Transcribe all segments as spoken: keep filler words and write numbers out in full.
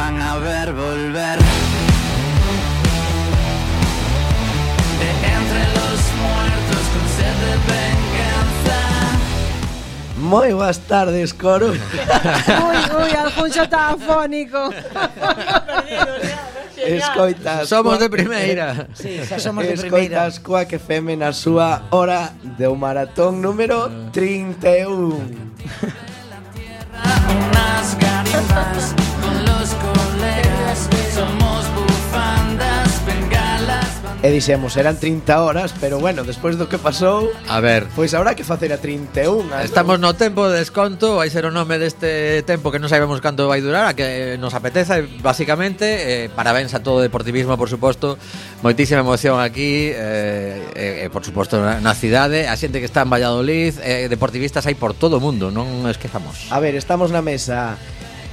van a ver volver. De entre los muertos con sed de venganza. Moi boas tardes, coro. Ui, ui, Alfonso está afónico. Escoitas. Somos de primeira. Sí, xa somos de primeira. Escoitas Quack F M na súa hora de maratón número trinta e un. Unas garimbas con los colegas. Somos bufandas, bengalas. E dixemos, eran trinta horas, pero bueno, despois do que pasou, A ver, pois habrá que facer a trinta e un. estamos no tempo de desconto. Vai ser o nome deste tempo que non sabemos canto vai durar, a que nos apeteza, basicamente. eh, Parabéns a todo o deportivismo, por suposto. Moitísima emoción aquí, eh, eh, por suposto na, na cidade. A xente que está en Valladolid, eh, deportivistas hai por todo o mundo, non esquezamos. A ver, estamos na mesa.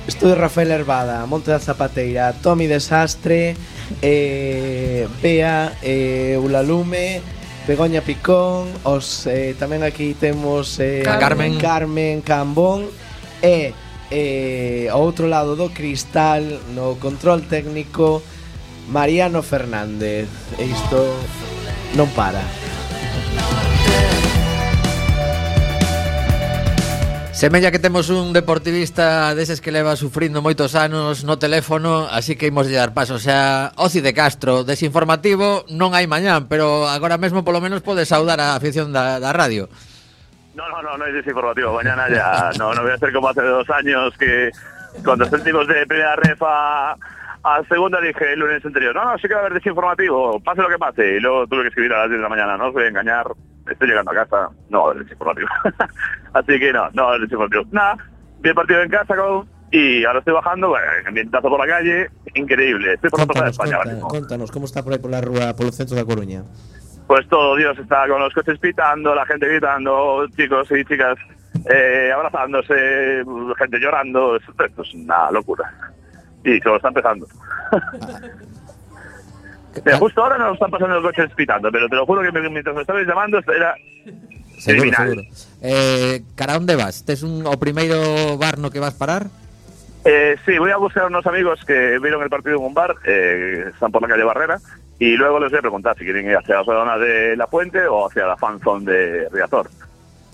Estudio Rafael Herbada, Monte da Zapateira, Tomi Desastre, eh, Bea, eh, Ulalume, Begoña Picón, os eh, tamén aquí temos eh, A Carmen. Carmen Cambón e eh, ao outro lado do cristal, no control técnico, Mariano Fernández. E isto non para. Semella que temos un deportivista deses que leva sufrindo moitos anos no teléfono, así que imos dar paso. O sea, Oci de Castro, desinformativo non hai mañán, pero agora mesmo polo menos podes saudar a afición da, da radio. No, no, no, no es desinformativo. Mañana ya no, no voy a ser como hace dos años que cuando sentimos de primera ref a, a segunda dije el lunes anterior, no, no, sí que va a haber desinformativo, pase lo que pase. Y luego tuve que escribir a las diez de la mañana, no os voy a engañar, estoy llegando a casa, no va a haber desinformativo. Así que no, no va a haber desinformativo. Nada, vi el partido en casa con... y ahora estoy bajando, bueno, ambientazo por la calle, increíble. Estoy por la plaza de España ahora mismo. Contanos, como está por aí pola rúa, polo centro da Coruña? Pues todo Dios está con los coches pitando, la gente gritando, chicos y chicas eh, abrazándose, gente llorando, esto, esto es una locura. Y se lo está empezando. Mira, justo ahora no están pasando los coches pitando, pero te lo juro que mientras me estabais llamando era Seguro, criminal. seguro. Eh, cara onde vas? Tes un, o primeiro bar no que vas parar? Eh, sí, voy a buscar a unos amigos que vieron el partido en un bar, eh, están por la calle Barrera, y luego les voy a preguntar si quieren ir hacia la zona de La Puente o hacia la fanzone de Riazor.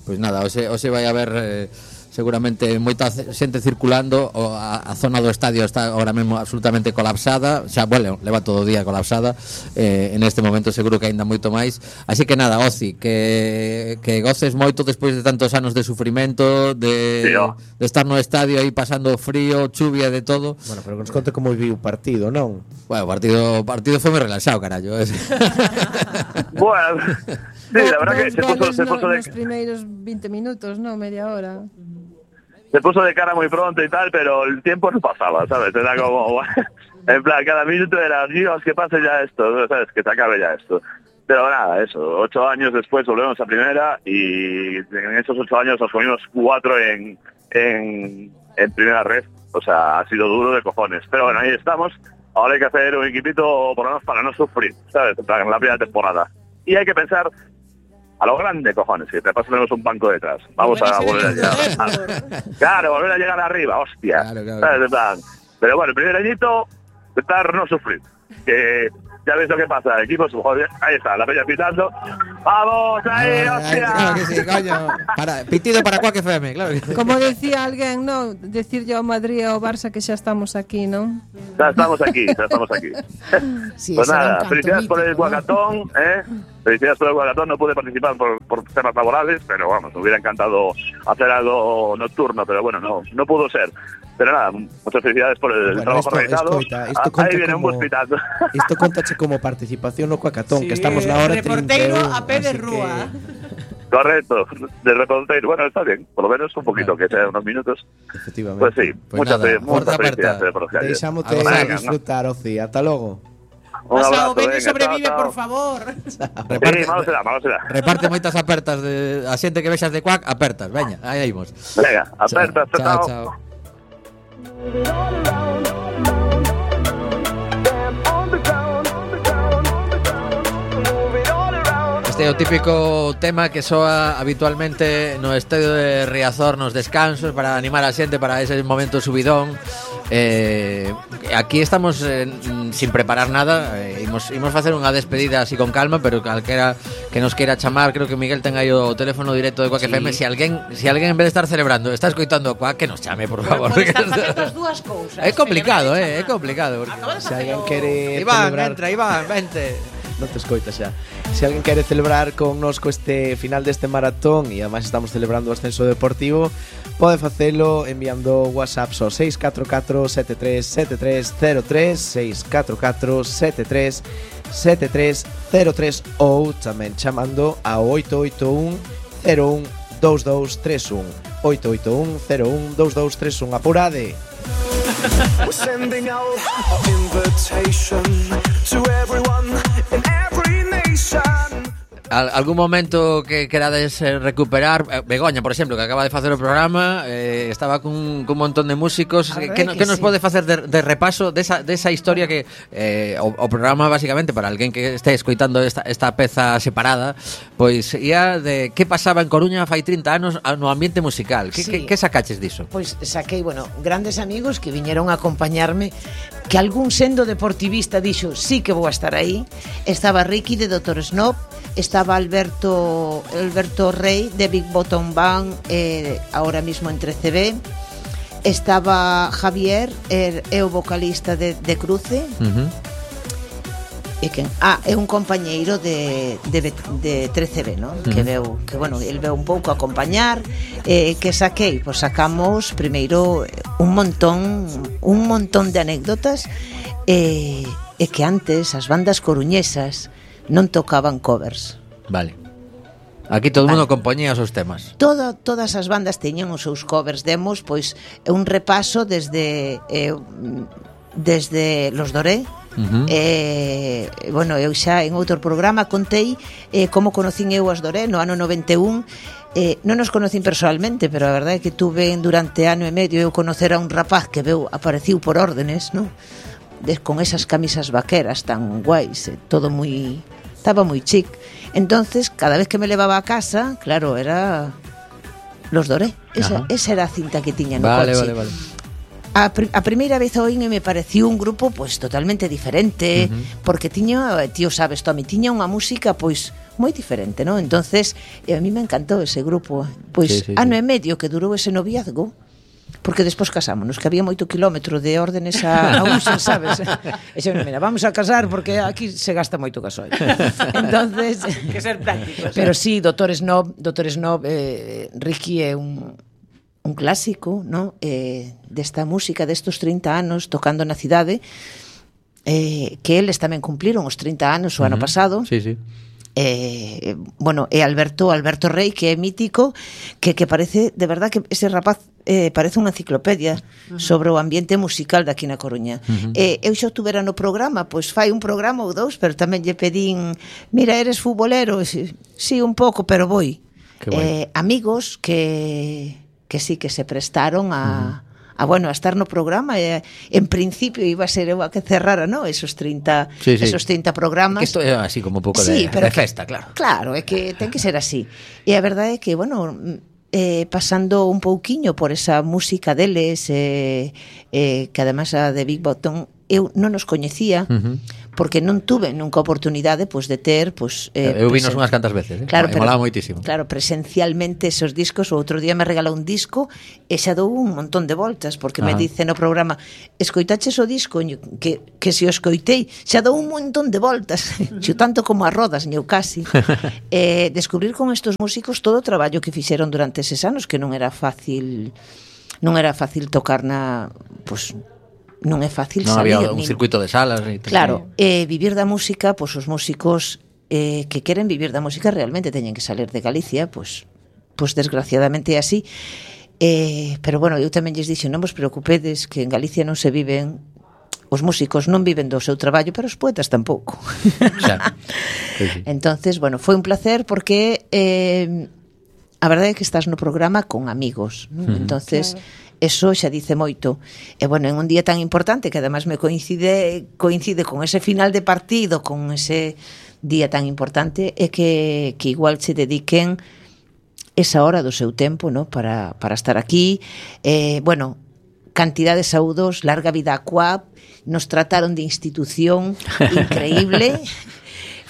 Pois nada, hoxe, hoxe vai haber eh, seguramente moita xente circulando. O a, a zona do estadio está ahora mesmo absolutamente colapsada. Xa, bueno, leva todo o día colapsada. eh, En este momento seguro que aínda moito máis. Así que nada, Oci, que, que goces moito despois de tantos anos de sufrimento, de, Sí, oh. de estar no estadio aí pasando frío, chuvia, de todo. Bueno, pero que nos conte como viu o partido, non? Bueno, o partido, o partido foi moi relaxado, carallo. Bueno, sí, la verdad que se puso, se puso de... Los primeiros veinte minutos, no, media hora. Se puso de cara muy pronto y tal, pero el tiempo no pasaba, ¿sabes? Era como, en plan, cada minuto era, Dios, que pase ya esto, ¿sabes? Que se acabe ya esto. Pero nada, eso, ocho años después volvemos a primera y en esos ocho años nos comimos cuatro en, en, en primera red. O sea, ha sido duro de cojones. Pero bueno, ahí estamos. Ahora hay que hacer un equipito por lo menos para no sufrir, ¿sabes? En plan, en la primera temporada. Y hay que pensar a lo grande, cojones, que te paso tenemos un banco detrás. Vamos a volver a llegar. Claro, volver a llegar arriba, hostia. Claro, claro. ¿Sabes? En plan, pero bueno, el primer añito, intentar no sufrir. Que ya ves lo que pasa, equipos, joder, ahí está, la peña pitando. ¡Vamos, ahí, hostia! Claro que sí, coño. Para, pitido para Quack F M, claro. Como decía alguén, no, decir yo a Madrid ou Barça que xa estamos aquí, non? Ya estamos aquí, ya estamos aquí. Sí, Pues ese era un nada, canto felicidades por el mítico, ¿no? Guacatón, ¿eh? Felicidades por el Guacatón, no pude participar por, por temas laborales, pero vamos, me hubiera encantado hacer algo nocturno, pero bueno, no, no pudo ser. Pero nada, muchas felicidades por el Bueno, trabajo esto- realizado. escoita, esto Ah, conta ahí viene un como- bus pitando. Isto contache como participación no Cuacatón, Sí, que estamos na hora reporteiro trinta e un, a pé de así rúa. que, Correcto, de reportero. Bueno, está bien, por lo menos un poquito, que sea unos minutos. efectivamente. Pues sí, Pues muchas, nada, fe- muchas fuerza felicidades aperta. por los calles. Deixámote Venga, ¿no? disfrutar, Oci. Ata logo. Un Pasa, abrazo, o ven y venga, sobrevive, chao, chao. por favor. Reparte, Sí, malo será, malo será. reparte moitas apertas de a xente que vexas de Quack, apertas, veña, aí imos. Venga, aperta, chao, chao. chao. Este Este é o típico tema que soa habitualmente no estadio de Riazor nos descansos para animar a xente para ese momento subidón. Eh, aquí estamos eh, sin preparar nada, eh, imos, imos facer unha despedida así con calma, pero calquera que nos queira chamar, creo que Miguel ten aí o teléfono directo de Quack sí. F M. Si alguén, si alguén en vez de estar celebrando está escoitando a Quack, que nos chame, por favor. As dúas cousas. É complicado, eh, é complicado. Se alguén quere Iván, celebrar... entra, Iván, vente. Non te escoitas xa. Se alguén quere celebrar con nosco este final deste maratón e ademais estamos celebrando o ascenso deportivo, pode facelo enviando WhatsApp ao seis catro catro sete tres sete tres cero tres seis catro catro sete tres sete tres cero tres ou tamén chamando ao oito oito un cero un dous dous tres un oito oito un cero un dous dous tres un. Apurade. We're sending out our invitation to everyone in every nation. Al, algún momento que querades eh, recuperar, eh, Begoña, por exemplo, que acaba de facer o programa, eh, estaba cun, cun montón de músicos, que, que, que, que nos sí. pode facer de, de repaso desa, desa historia que eh, o, o programa, basicamente, para alguén que este escoitando esta, esta peza separada, pois ia de que pasaba en Coruña fai trinta anos no ambiente musical. Que, Sí. que, que sacaches diso? Pois saquei, bueno, grandes amigos que viñeron a acompañarme, que algún sendo deportivista dixo, sí que vou a estar aí. Estaba Ricky de Doctor Snob, estaba Alberto Alberto Rey de Big Bottom Band, eh, ahora mismo en trece B. Estaba Javier, er, é o vocalista de, de Cruce. Uh-huh. E quen? Ah, é un compañeiro de, de, de trece B, ¿no? Uh-huh. Que veu, que bueno, el veu un pouco a acompañar. Eh, que saquei? Pois sacamos primeiro un montón un montón de anécdotas, eh, e que antes as bandas coruñesas non tocaban covers. Vale. Aquí todo o Vale. mundo compoñía os seus temas. Toda, todas as bandas teñen os seus covers, demos, pois é un repaso desde eh, desde Los Doré. Uh-huh. Eh, bueno, eu xa en outro programa contei eh, como conocín eu as Doré no ano noventa e un. Eh, non nos conocín personalmente, pero a verdade é que tuve durante ano e medio eu conocer a un rapaz que veu apareciu por órdenes, non? De, con esas camisas vaqueras tan guais, eh, todo moi estaba moi chic. Entonces, cada vez que me levaba a casa, claro, era Los Doré. Esa, esa era a cinta que tiña no Vale, coche. vale, vale. A, pr- a primeira vez oín e me pareció un grupo pues totalmente diferente, uh-huh. porque tiña, tío sabes, Tommy, tiña unha música pois moi diferente, ¿no? Entonces, e a mí me encantou ese grupo, pois sí, sí, ano sí. e medio que durou ese noviazgo, porque despois casámonos, que había moito kilómetro de órdenes a, a uso, sabes? E xe, mira, vamos a casar porque aquí se gasta moito gasoil. Entonces, que ser prácticos. pero sí, Doctor Snob, Doctor Snob, eh, Ricky é un un clásico, ¿no? Eh, desta música destos trinta anos tocando na cidade, eh, que eles tamén cumpliron os trinta anos o uh-huh. ano pasado. Sí, sí. Eh, bueno, e Alberto Alberto Rey, que é mítico, que, que parece, de verdad que ese rapaz eh, parece unha enciclopedia uh-huh. sobre o ambiente musical daqui na Coruña. Uh-huh. eh, eu xa tuvera no programa, pois fai un programa ou dous, pero tamén lle pedín, mira, eres futbolero? Sí, sí, un pouco, pero voy. Eh, amigos que que sí que se prestaron a, uh-huh. a bueno, a estar no programa, e en principio iba a ser eu a que cerrara, ¿no? Esos trinta, sí, sí. esos trinta programas. Que isto é así como un pouco sí, de, pero de que, festa, claro. Claro, é que ten que ser así. E a verdade é que, bueno, eh, pasando un pouquiño por esa música deles, eh, eh, que además a de Big Bottom eu non os coñecía, uh-huh. porque non tuve nunca oportunidade pois de ter, pois eh, eu vinos unhas cantas veces, eh? Claro, me pero, molaba moitísimo. Claro, presencialmente esos discos, o outro día me regalou un disco e xa dou un montón de voltas, porque Ajá. me dice no programa, escoitaches o disco, que, que se o escoitei, xa dou un montón de voltas, xo tanto como a rodas, eu casi. eh, descubrir con estos músicos todo o traballo que fixeron durante eses anos, que non era fácil, non era fácil tocar na, pois, non é fácil non salir. Non había un ni, circuito de salas. Ni claro, eh, vivir da música, pois os músicos eh, que queren vivir da música realmente teñen que salir de Galicia, pois, pois desgraciadamente é así. Eh, pero bueno, eu tamén lles dixo, non vos preocupedes que en Galicia non se viven, os músicos non viven do seu traballo, pero os poetas tampouco. Xa. Sí, sí. Entonces, bueno, foi un placer porque eh, a verdade é que estás no programa con amigos, ¿no? Uh-huh. Entonces, claro. Eso xa dice moito. E bueno, en un día tan importante que además me coincide coincide con ese final de partido, con ese día tan importante e que, que igual se dediquen esa hora do seu tempo, ¿no? para, para estar aquí. Eh, bueno, cantidad de saúdos, larga vida a Coap, nos trataron de institución increíble.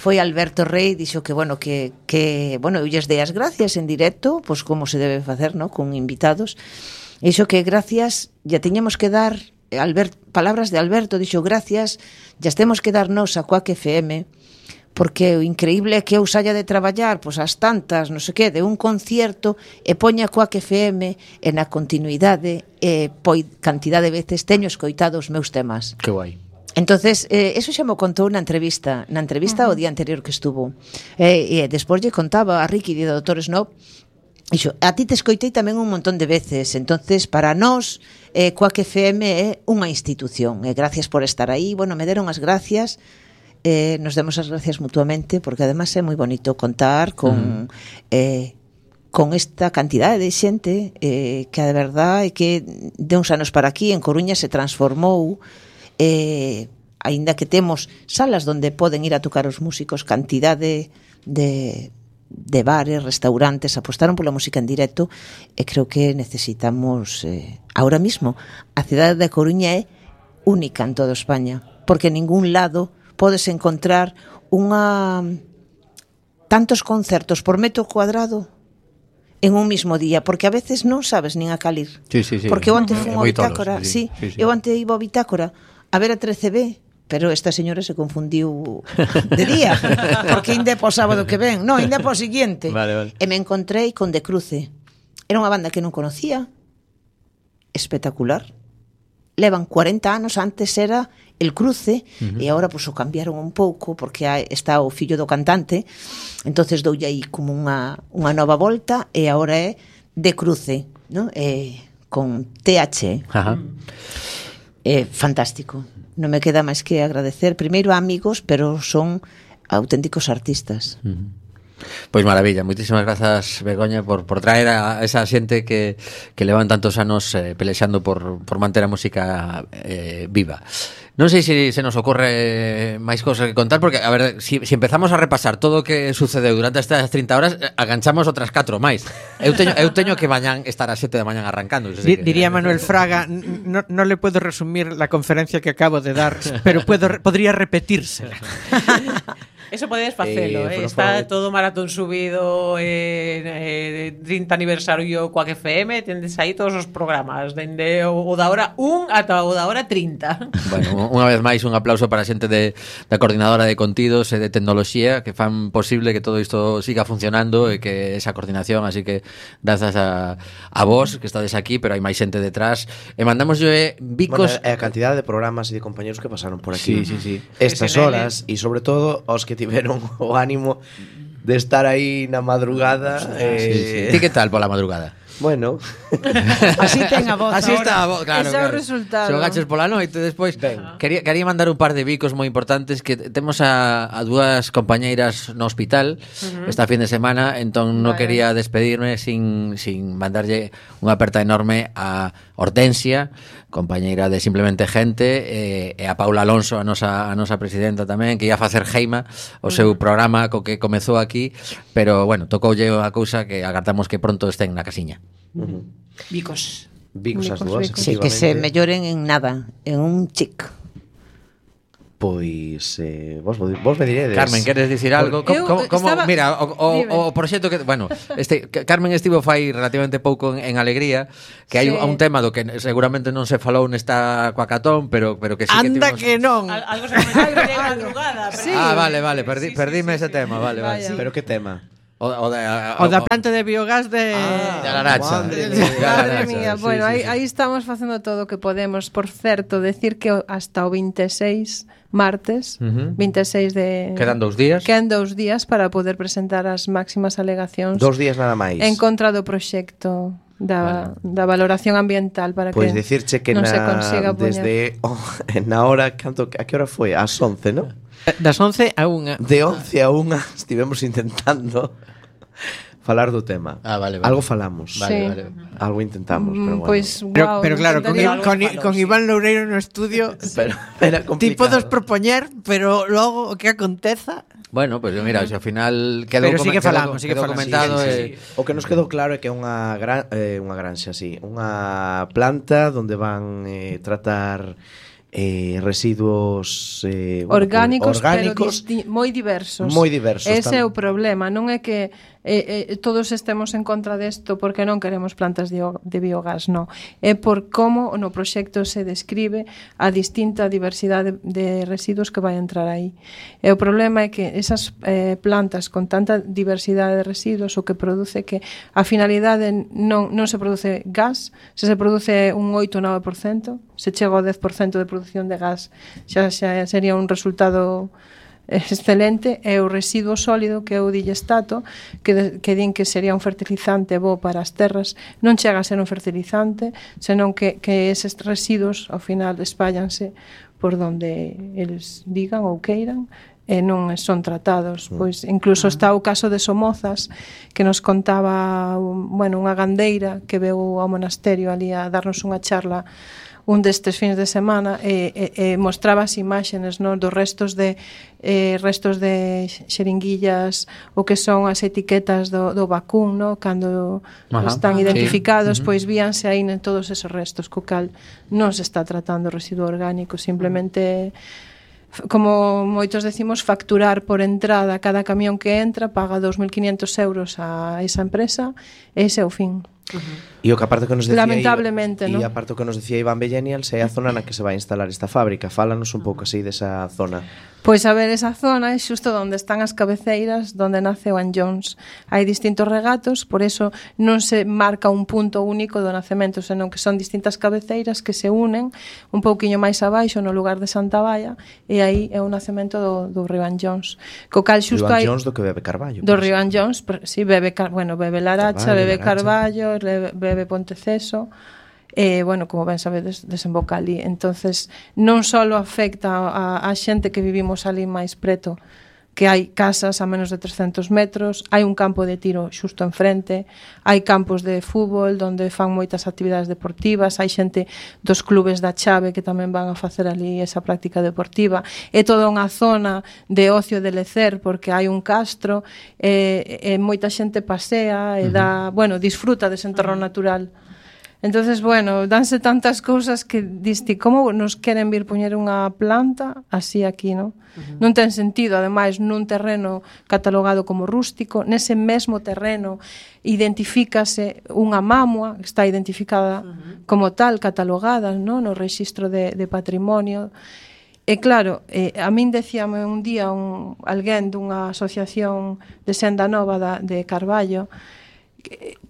Foi Alberto Rey, dixo que, bueno, que, que bueno, eu lles dei as gracias en directo, pois como se debe facer, ¿no? Con invitados. Iso que gracias, ya teñamos que dar, Albert, palabras de Alberto, dixo gracias, ya temos que darnos a Coac F M, porque o increíble é que eu saia de traballar, pois as tantas, non sei que, de un concierto, e poña Coac F M, e na continuidade, e poi cantidad de veces teño escoitado os meus temas. Que guai. Entonces, eh, eso xa me contou na entrevista, na entrevista uh-huh. o día anterior que estuvo. E eh, despois lle contaba a Ricky de Doutor Snob, dixo, a ti te escoitei tamén un montón de veces, entonces para nós eh, Coac F M é unha institución, e gracias por estar aí. Bueno, me deron as gracias, eh, nos demos as gracias mutuamente, porque además é moi bonito contar con... Uh-huh. eh, con esta cantidade de xente eh, que de verdade é que de uns anos para aquí en Coruña se transformou, eh, aínda que temos salas onde poden ir a tocar os músicos, cantidade de, de bares, restaurantes apostaron pola música en directo, e creo que necesitamos eh, ahora mismo, a cidade de Coruña é única en toda España, porque en ningún lado podes encontrar unha tantos concertos por metro cuadrado en un mismo día, porque a veces non sabes nin a calir. Sí, sí, sí. Porque eu antes fui Uh-huh. a Bitácora, sí, sí, sí, sí. Eu antes iba a Bitácora a ver a trece B, pero esta señora se confundiu de día, porque inde po sábado que ven, non, inde po siguiente. Vale, vale. E me encontrei con De Cruce. Era unha banda que non conocía, espectacular. Levan cuarenta anos, antes era El Cruce, uh-huh. e agora pues, o cambiaron un pouco, porque está o fillo do cantante, entonces doulle aí como unha, unha nova volta, e agora é De Cruce, ¿no? Eh, con T H. Ajá. É fantástico. Non me queda máis que agradecer primeiro a amigos, pero son auténticos artistas. Uh-huh. Pois maravilla, moitísimas grazas, Begoña, por, por traer a esa xente que, que levan tantos anos eh, pelexando por, por manter a música eh, viva. Non sei se se nos ocorre máis cosas que contar, porque, a ver, si, si empezamos a repasar todo o que sucedeu durante estas trinta horas, aganchamos outras catro máis. Eu teño, eu teño que mañán estar a sete da mañán arrancando. Di, diría Manuel Fraga, no, no le puedo resumir la conferencia que acabo de dar, pero puedo, podría repetirse. Eso podedes facelo, eh, eh, está todo maratón subido, eh, eh, trinta aniversario Coac F M, tendes aí todos os programas, dende o, o da hora un ata o da hora trinta. Bueno, unha vez máis un aplauso para a xente de, da coordinadora de contidos e de tecnoloxía que fan posible que todo isto siga funcionando e que esa coordinación, así que grazas a, a vos que estades aquí, pero hai máis xente detrás, e mandamos yo eh, bicos... Bueno, e a cantidad de programas e de compañeros que pasaron por aquí. Sí, sí, sí. Estas horas, e sobre todo aos que tiveron o ánimo de estar aí na madrugada. Eh... Sí, sí. Ti que tal pola madrugada? Bueno, así ten a voz. Así ahora. está a voz, claro. Ese é o claro. resultado. Se o gaches pola noite despois. Quería, quería mandar un par de bicos moi importantes que temos a, a dúas compañeiras no hospital uh-huh. esta fin de semana, entón non vale. quería despedirme sin, sin mandarlle unha aperta enorme a Hortensia, compañeira de Simplemente Gente, e, e a Paula Alonso, a nosa, a nosa presidenta tamén, que ia facer Geima, o seu programa co que comezou aquí, pero bueno, tocoulle a cousa que agardamos que pronto estén na casiña. uh-huh. Bicos. Bicos as Bicos, dúas, bicos. Sí, que se melloren en nada, en un chic. Pois eh, vos, vos me diredes. Carmen, queres dicir algo? Eu Como, como, estaba- mira, o, o, Dime. o proxecto que, bueno, este Carmen estivo fai relativamente pouco en, en Alegría, que hai Sí. un, un tema do que seguramente non se falou nesta Coacatón, pero pero que sí que Anda tivemos... que non. Al, algo se comenzou de madrugada. Sí. Ah, vale, vale, perdi, Sí, sí, perdime sí, ese sí. tema, vale, vale. Vaya. Sí. Pero que tema? O, o, de, O da planta de biogás de... de Alaracha. Madre De mía. Alaracha, Madre mía, sí, bueno, sí, aí, sí. aí estamos facendo todo o que podemos. Por certo, decir que o- hasta o veintiséis martes, Ujú. veintiséis de... Quedan dous días. Quedan dous días para poder presentar as máximas alegacións Dos días nada máis. en contra do proxecto da, da valoración ambiental para Pois que dicirche que non se na, consiga poñer. desde oh, na hora canto, a que hora foi? Ás once, ¿no? Das once a unha. De once a unha estivemos intentando falar do tema. Ah, vale, vale. Algo falamos. Vale, Sí. vale. Algo intentamos, pero Mm, bueno. Pois, Pero, guau, pero claro, con, intentaría- con, con Iván Loureiro no estudio, pero era ti complicado. podes propoñer, pero logo o que aconteza... Bueno, pues mira, se ao final quedou Pero sigue come- falando, quedou- sigue quedou falando. comentado Sí, sí, eh, sí. O que nos quedou claro é que é unha gran, eh, unha granxa, sí, unha planta onde van eh, tratar eh, residuos eh, bueno, orgánicos, orgánicos pero disti- moi diversos. moi diversos. Ese é tam- o problema, non é que eh, eh, todos estemos en contra desto porque non queremos plantas de, o- de biogás, non. É por como no proxecto se describe a distinta diversidade de, de residuos que vai entrar aí. E o problema é que esas eh, plantas con tanta diversidade de residuos o que produce que a finalidade non, non se produce gas, se se produce un oito ou nove por cento, se chega ao dez por cento de produción de gas, xa, xa sería un resultado excelente. É o residuo sólido que é o digestato que, de, que din que sería un fertilizante bo para as terras, non chega a ser un fertilizante, senón que, que eses residuos ao final espállanse por donde eles digan ou queiran e non son tratados. Pois incluso está o caso de Somozas que nos contaba un, bueno, unha gandeira que veu ao monasterio ali a darnos unha charla un destes fins de semana e, e, e mostraba as imaxenes, no, dos restos de eh, restos de xeringuillas, o que son as etiquetas do, do vacún, no, cando Ajá. están Sí. identificados, Ujú. pois víanse aí en todos esos restos, co cal non se está tratando residuo orgánico, simplemente f- como moitos decimos, facturar por entrada cada camión que entra, paga dos mil quinhentos euros a esa empresa, e ese é o fin. E o que aparte que nos decía Lamentablemente, e ¿no? aparte o que nos decía Iván Bellenials é a zona na que se vai instalar esta fábrica. Fálanos un pouco así desa zona. Pois a ver, esa zona é xusto onde están as cabeceiras, onde nace o An Jones. Hai distintos regatos, por eso non se marca un punto único do nacemento, senón que son distintas cabeceiras que se unen un pouquiño máis abaixo no lugar de Santa Baia, e aí é o nacemento do, do río An Jones. Co cal xusto Iván hai Jones do que bebe Carballo. do por río exemplo. An Jones, per- sí, bebe, car- bueno, bebe Laracha, Carballo, bebe Laracha. Carballo, le- bebe Ponteceso, e, bueno, como ben sabedes, desemboca ali. Entonces, non só afecta a, a xente que vivimos ali máis preto, que hai casas a menos de trescentos metros, hai un campo de tiro xusto enfrente, hai campos de fútbol onde fan moitas actividades deportivas, hai xente dos clubes da Chave que tamén van a facer ali esa práctica deportiva. É toda unha zona de ocio e de lecer porque hai un castro e, e moita xente pasea e dá, bueno, disfruta dese entorno natural. Entonces, bueno, danse tantas cousas que diste, como nos queren vir poñer unha planta así aquí, non? Uh-huh. Non ten sentido, ademais, nun terreno catalogado como rústico, nese mesmo terreno identifícase unha mamua, que está identificada uh-huh. como tal, catalogada, non? No rexistro de, de patrimonio. E claro, eh, a min decíame un día un, alguén dunha asociación de Senda Nova da, de Carballo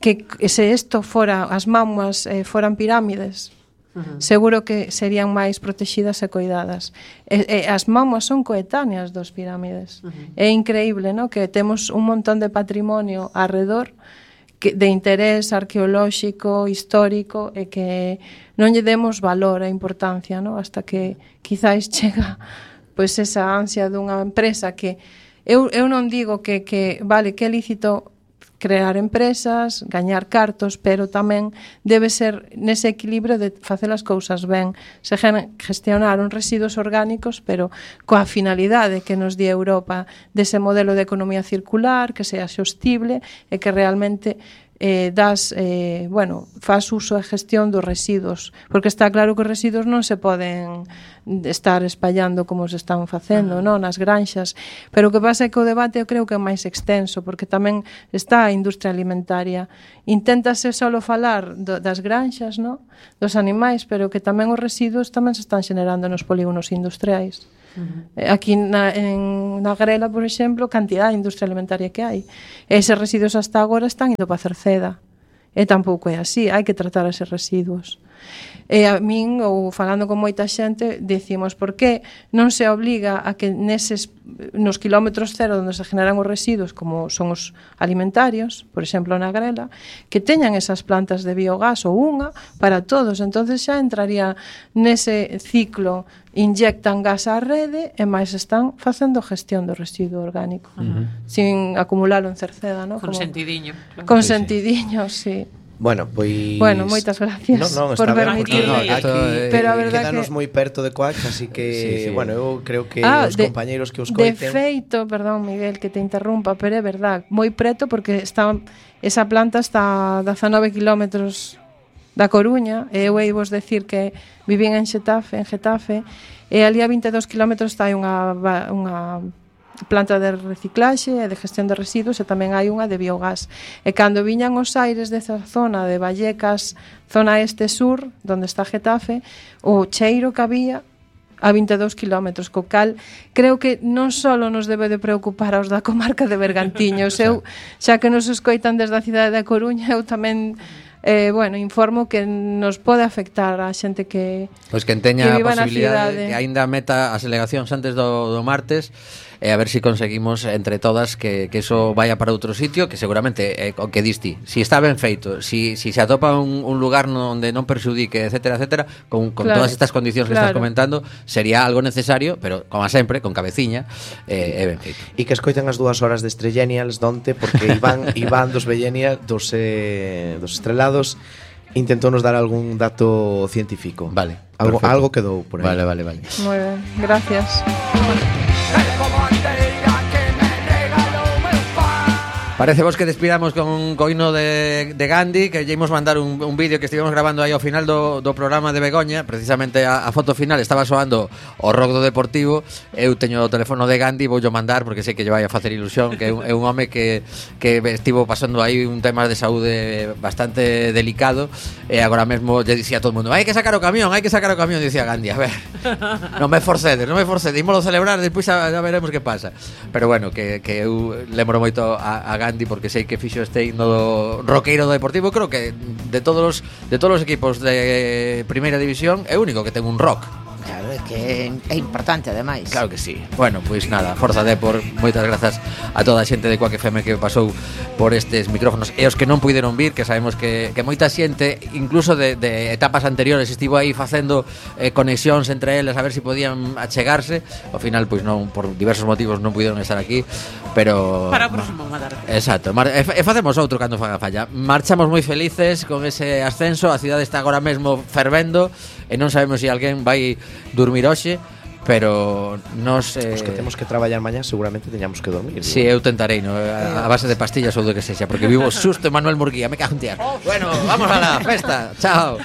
que, que se isto fora, as mamuas eh, foran pirámides, uh-huh. seguro que serían máis protegidas e coidadas. E, e as mamuas son coetáneas dos pirámides. Uh-huh. É increíble, ¿no? Que temos un montón de patrimonio arredor que, de interés arqueolóxico, histórico, e que non lle demos valor e importancia, ¿no? Hasta que quizáis chega pois esa ansia dunha empresa que eu, eu non digo que, que vale, que é lícito crear empresas, gañar cartos, pero tamén debe ser nese equilibrio de facer as cousas ben, se gestionar uns residuos orgánicos, pero coa finalidade que nos di Europa dese modelo de economía circular, que sea sostible e que realmente eh, das, eh, bueno, faz uso e gestión dos residuos, porque está claro que os residuos non se poden estar espallando como se están facendo, non, nas granxas, pero o que pasa é que o debate eu creo que é máis extenso, porque tamén está a industria alimentaria. Inténtase solo falar do, das granxas, non, dos animais, pero que tamén os residuos tamén se están generando nos polígonos industriais. Uh-huh. Aquí na, en, na Grela, por exemplo, cantidad de industria alimentaria que hai. Eses residuos hasta agora están indo para Cerceda. E tampouco é así, hai que tratar eses residuos. E a min, ou falando con moita xente, decimos por que non se obliga a que neses, nos kilómetros cero onde se generan os residuos, como son os alimentarios, por exemplo na Grela, que teñan esas plantas de biogás ou unha para todos. Entonces xa entraría nese ciclo, inyectan gas á rede e máis están facendo gestión do residuo orgánico, uh-huh. sin acumularlo en Cerceda, ¿no? Con Como, sentidiño. Claro. Con sentidiño, sí. Bueno, pois Bueno, moitas gracias no, no, por está ben, permitirme. porque aquí eh, Pero a verdade quedanos que- moi perto de Coax, así que, Sí, sí. bueno, eu creo que Ah, os de- compañeiros que os De coiten... feito, perdón, Miguel, que te interrumpa, pero é verdad, moi preto porque está esa planta está a dezanove kilómetros da Coruña, e eu hei vos decir que vivín en Xetafe, en Getafe, e ali a vinte e dous kilómetros está unha va- unha planta de reciclaxe e de gestión de residuos e tamén hai unha de biogás. E cando viñan os aires desa zona de Vallecas, zona este-sur, donde está Getafe, o cheiro que había a vinte e dous kilómetros, co cal creo que non só nos debe de preocupar aos da comarca de Bergantiños, eu, xa que nos escoitan desde a cidade da Coruña, eu tamén eh, bueno, informo que nos pode afectar a xente que Pois que teña que a viva na posibilidade cidade. que aínda meta as alegacións antes do, do martes e a ver se si conseguimos entre todas que, que eso vaya para outro sitio, que seguramente é o que diste. Si está ben feito, si, si se atopa un, un lugar onde non perxudique, etcétera, etcétera, con, con Claro, todas estas condicións que claro. estás comentando, sería algo necesario, pero como sempre, con cabeciña, eh, é ben feito. E que escoiten as dúas horas de Estrellenials donte, porque Iván, Iván dos Bellenia, dos, eh, dos estrelados, intentou nos dar algún dato científico. Vale, Algo, perfecto. algo quedou por aí. Vale, vale, vale. moi ben, gracias. Parece vos que despidamos con un coino de, de Gandhi, que lle imos mandar un, un vídeo que estivemos grabando aí ao final do, do programa de Begoña. Precisamente a, a foto final estaba soando o rock do Deportivo. Eu teño o teléfono de Gandhi, voulle mandar porque sei que lle vai a facer ilusión, que é un, é un home que, que estivo pasando aí un tema de saúde bastante delicado, e agora mesmo lle dicía a todo o mundo: hai que sacar o camión, hai que sacar o camión. Dicía Gandhi: a ver, non me forcedes, non me forcedes, ímolo celebrar, despois xa, xa veremos que pasa. Pero bueno, que, que eu lembro moito a, a Gandhi porque sei que fixo este himno do roqueiro do Deportivo. Creo que de todos os de todos os equipos de primeira división é o único que ten un rock. Claro, é que é importante ademais. Claro que sí. Bueno, pois nada, Forza Depor, moitas grazas a toda a xente de Quack F M que pasou por estes micrófonos e os que non puideron vir, que sabemos que, que moita xente, incluso de, de etapas anteriores, estivo aí facendo eh, conexións entre eles a ver se si podían achegarse. Ao final, pois non, por diversos motivos non puideron estar aquí, pero Para o próximo mandar. exacto, mar, e, e facemos outro cando faga falla. Marchamos moi felices con ese ascenso. A cidade está agora mesmo fervendo e non sabemos se si alguén vai dormir hoxe, pero nos eh, Os que temos que traballar mañá seguramente teñamos que dormir. Si, sí, eu tentarei, no? a, a base de pastillas ou do que sexa, porque vivo susto Manuel Murguía, me cago en tías. Bueno, vamos a la festa. Chao.